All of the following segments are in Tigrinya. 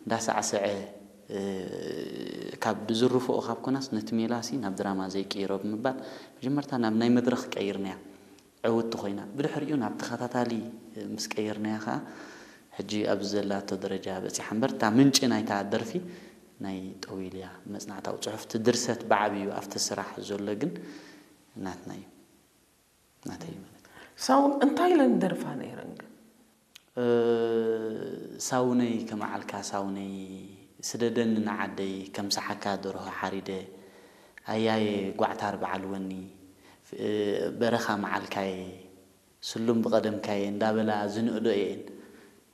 እንዳሳዕሰዐ፣ እ፣ ካብ ዝርፍኦ ካብ ኮናስ ነቲ ሜላሲ ናብ ድራማ ዘይቅይሮ ብምባል፣ መጀመርታ ናብ ናይ መድረኽ ቀይርናያ። ዕውቲ ኮይና። ብድሕሪኡ ናብ ተኸታታሊ ምስ ቀየርናያ ኸኣ፣ ሕጂ ኣብዚ ዘላቶ ደረጃ በጺሓ እምበር፣ እታ ምንጪ ናይታ ደርፊ ናይ ጠዊል እያ። መጽናዕታዊ ጽሑፍ፣ እቲ ድርሰት ብዓብዩ ኣብቲ ስራሕ ዘሎ ግን ናትና እዩ። ናተይ ማለት እዩ። ሳውን እንታይ ኢለን ደርፋ ነይረን ግን? እ፣ ሳውነይ ከመዓልካ ሳውነይ፣ ስደደኒ ንዓደይ፣ ከምስሓካ ደርሆ ሓሪደ፣ ኣያየ ጓዕታር በዓል ወኒ፣ እ፣ በረኻ መዓልካየ፣ ስሉም ብቐደምካየ እንዳበላ ዝንእዶ እየን።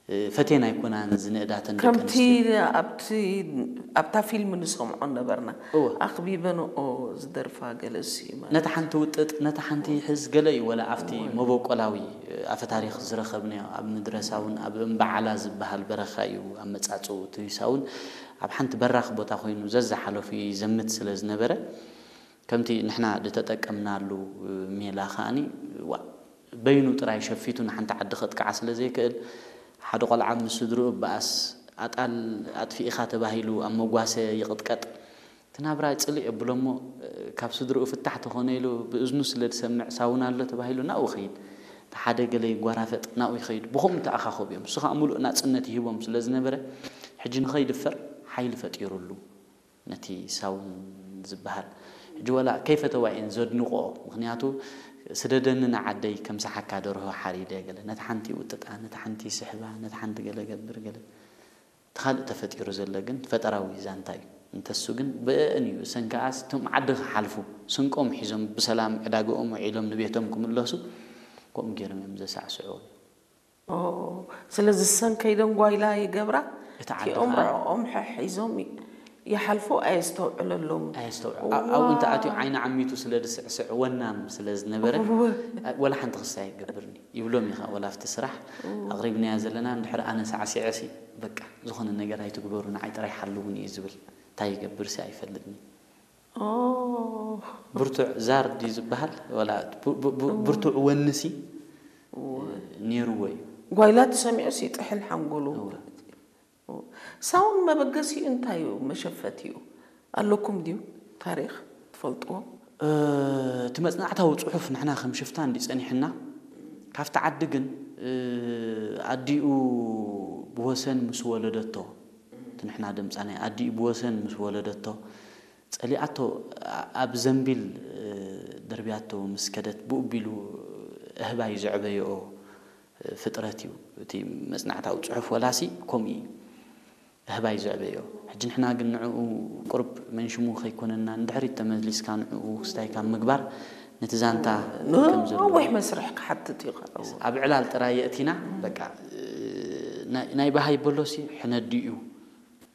እ፣ ፈትየን ኣይኮናን ዝንእዳተን ደቂ ከምቲ ኣንስትዮ። ኣብቲ፣ ኣብታ ፊልም ንሰምዖ ነበርና። እወ። ኣኽቢበንኦ ዝደርፋ ገለሲ ማለት። ነታ ሓንቲ ውጥጥ፣ ነታ ሓንቲ ይሕዝ ገለ እዩ፣ ወላ ኣብቲ እወ። መበቆላዊ፣ እ፣ ኣፈ ታሪኽ ዝረኸብናዮ ኣብ ምድረሳ እውን ኣብ እምበዓላ ዝበሃል በረኻ እዩ ኣመጻጽኡ። እቲ ሳውን ኣብ ሓንቲ በራኽ ቦታ ኮይኑ ዘዝሓለፉ ይዘምት ስለ ዝነበረ፣ ከምቲ ንሕና ዝተጠቀምናሉ ሜላ ከኣኒ፣ ዋ፣ በይኑ ጥራይ ሸፊቱ ንሓንቲ ዓዲ ከጥቅዓ ስለ ዘይክእል፣ ሓደ ቆልዓ ምስ ስድርኡ በኣስ ኣጣል ኣጥፊእኻ ተባሂሉ ኣብ መጓሰ ይቕጥቀጥ። እቲ ናብራ ጽልእ የብሎ እሞ፣ ካብ ስድርኡ ፍታሕ ተኾነ ኢሉ ብእዝኑ ስለ ዝሰምዕ ሳውን ኣሎ ተባሂሉ ናብኡ ይኸይድ። እቲ ሓደ ገለ ይጓራፈጥ፣ ናብኡ ይኸይድ። ብኸምኡ ተኣኻኸቡ እዮም። እሱ ኸኣ ምሉእ ናጽነት ይህቦም ስለ ዝነበረ፣ ሕጂ ንኸይድፈር ሓይሊ ፈጢሩሉ። ነቲ ሳውን ዝበሃል። ሕጂ ወላ ከይፈተዋ እየን ዘድንቆ። ምኽንያቱ፣ ስደደኒ ንዓደይ ከምስሓካ ደርሆ ሓሪደ ገለ። ነታ ሓንቲ ይውጥጣ፣ ነታ ሓንቲ ይስሕባ፣ ነታ ሓንቲ ገለ ገብር ገለ። እቲ ካልእ ተፈጢሩ ዘሎ ግን ፈጠራዊ ዛንታ እዩ። እንተሱ ግን ብእእን እዩ። እሰን ከኣስ እቶም ዓዲ ክሓልፉ፣ ስንቆም ሒዞም ብሰላም ዕዳግኦም ውዒሎም ንቤቶም ክምለሱ፣ ከምኡ ገይሮም እዮም ዘሳዕስዑ። ኦ፣ ስለዚ እሰን ከይደን ጓይላ ይገብራ። እቲ ዓዲ እቲኦም ከዓ ርዕኦም ሕሒዞም ይ-፣ ይሓልፉ፣ ኣየስተውዕለሎም። ኣየስተውዕ-፣ ዋ። ኣ-፣ ኣብኡ እንተ ኣትዩ ዓይኒ ዓሚቱ ስለ ዝስዕስዕ ወናም ስለ ዝነበረ፣ እወ። ኣ-፣ ወላ ሓንቲ ክስታይ ኣይገብርን እዩ ይብሎም እዩ ከዓ፣ ወላ ኣብቲ ስራሕ እወ። ኣቕሪብናያ ዘለና፣ እንድሕር ኣነ ሳዕሲዐ ሲ፣ በቃ፣ ዝኾነ ነገር ኣይትግበሩ፣ ንዓይ ጥራይ ሓልዉኒ እዩ ዝብል። እንታይ ይገብር ሲ ኣይፈልጥን እዩ። ኦ። ብርቱዕ ዛር ድዩ ዝበሃል? ወላ ብ-፣ ብ-፣ ብ-፣ እወ። ብርቱዕ ወንሲ እወ። ነይርዎ እዩ። ጓይላ ተሰሚዑስ ይጥሕል ሓንጎሉ እወ። ማለት እዩ። እወ። ሳውን መበገሲኡ እንታይ እዩ? መሸፈቲኡ ኣለኩም ድዩ? ታሪኽ ትፈልጥዎ? እ፣ እቲ መጽናዕታዊ ጽሑፍ ንሕና ከም ሽፍታ እንዲ ጸኒሕና፣ ካብቲ ዓዲ ግን፣ እ፣ ኣዲኡ ብወሰን ምስ ወለደቶ፣ እቲ ንሕና ድምጻ ናይ ኣዲኡ ብወሰን ምስ ወለደቶ፣ ጸሊኣቶ ኣ-፣ ኣብ ዘንቢል፣ እ፣ ደርብያቶ ምስ ከደት ብኡ ቢሉ ኣህባይ ዘዕበየኦ፣ እ፣ ፍጥረት እዩ። እቲ መጽናዕታዊ ጽሑፍ ወላሲ ከምኡ እዩ። ኣህባይ ዘዕበዮ። ሕጂ ንሕና ግን ንዕኡ ቁሩብ መንሽሙ ከይኮነና፣ ንድሕሪት ተመሊስካ ንዕኡ ክስታይ ካብ ምግባር፣ ነቲ ዛንታ ን-፣ ከም ዘለዎ ነዊሕ መስርሕ ክሓትት እዩ ከዓ። ኣብ ዕላል ጥራይ የእቲና፣ በቃ፣ እ፣ ናይ፣ ናይ በሃይ በሎሲ ሕነዲ እዩ።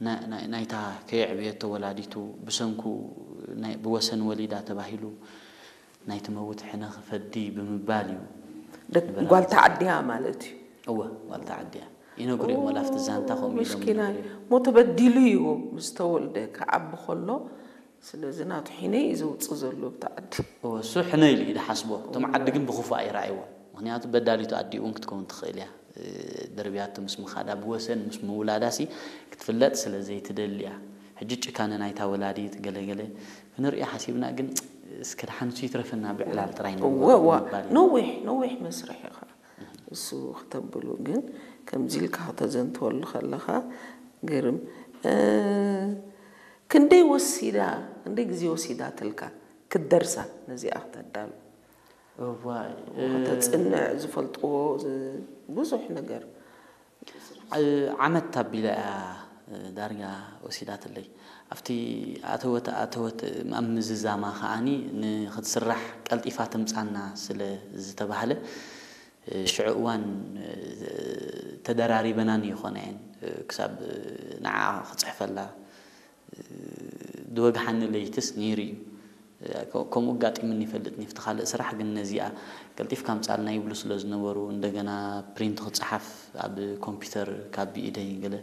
ና-፣ ናይ፣ ናይታ ከየዕበየቶ ወላዲቱ ብሰንኩ ናይ፣ ብወሰን ወሊዳ ተባሂሉ ናይ ትመውት ሕነ ክፈዲ ብምባል እዩ ደቅ-፣ ንበረኻ ጓል ዝኸደ። ተዓድያ ማለት እዩ። እወ፣ ጓል ተዓድያ። ይነግሩ እዮም፣ ወላ ኣብቲ ዛንታ ከምኡ ኢሎም ምስኪናይ። ይነግሩ እዮም። ሞ ተበዲሉ እዩ ምስ ተወልደ ክዓቢ ከሎ፣ ስለዚ ናቱ ሕነ እዩ ዘውፅእ ዘሎ ኣብቲ ዓዲ። እወ፣ እሱ ሕነ ኢሉ እዩ ዝሓስቦ። እቶም ዓዲ ግን ብኽፉእ ኣይረኣይዎ። ምኽንያቱ በዳሊቱ ኣዲኡ እውን ክትከውን ትኽእል እያ። እ፣ ደርብያቶ ምስ ምኻዳ ብወሰን ምስ ምውላዳሲ ክትፍለጥ ስለ ዘይትደሊ እያ። ሕጂ ጭካነ ናይታ ወላዲት ገለገለ ክንርኢ ሓሲብና፣ ግን እስከ ደሓን እሱ ይትረፈና ብዕላል ጥራይ እወ፣ ንግበሮ እወ። ብምባል እዩ። ነዊሕ፣ ነዊሕ መስርሕ ኢኻ እሱ ክተብሉ፣ ግን ከምዚ ኢልካ ከተዘንትወሉ ከለኻ ገርም። እ፣ ክንደይ ወሲዳ፣ ክንደይ ግዜ ወሲዳትልካ ክትደርሳ ነዚኣ ክተዳሉ? እዋይ፣ እ፣ ከተጽንዕ ዝፈልጥዎ ዝ-፣ ብዙሕ ነገር። እ፣ ዓመት ኣቢላ እያ፣ እ፣ ዳርጋ ወሲዳትለይ። ኣብቲ ኣተወት፣ ኣተወት ኣብ ምዝዛማ ከኣኒ ንኽትስራሕ ቀልጢፋ ትምጻና ስለ ዝተባህለ፣ እ፣ ሽዑ እዋን፣ እ፣ ተደራሪበናን ይኾና እየን። እ፣ ክሳብ፣ እ፣ ንዓ ክጽሕፈላ፣ እ፣ ዝወግሓኒ ለይትስ ነይሩ እዩ። እ፣ ከ-፣ ከምኡ ኣጋጢሙኒ ይፈልጥን እዩ። ኣብቲ ካልእ ስራሕ ግን ነዚኣ ቀልጢፍካ ኣምጻልና ይብሉ ስለ ዝነበሩ፣ እንደገና ፕሪንት ክጸሓፍ ኣብ ኮምፒውተር ካብ ብኢደይ ገለ።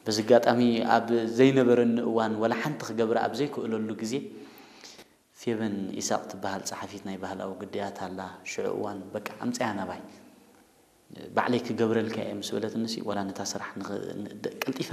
በዚ ኣጋጣሚ ኣብ ዘይነበረኒ እዋን፣ ወላ ሓንቲ ክገብራ ኣብ ዘይክእለሉ ግዜ፣ ፌቨን ኢሳቕ ትበሃል ጸሓፊት ናይ ባህላዊ ግዳያት ኣላ። ሽዑ እዋን፣ በቃ፣ ኣምጽያ ናባይ፣ ባዕለይ ክገብረልካ እየ ምስ በለትንሲ፣ ዋላ ነታ ስራሕ ንኽ-፣ ን-፣ ደ-፣ ቀልጢፈ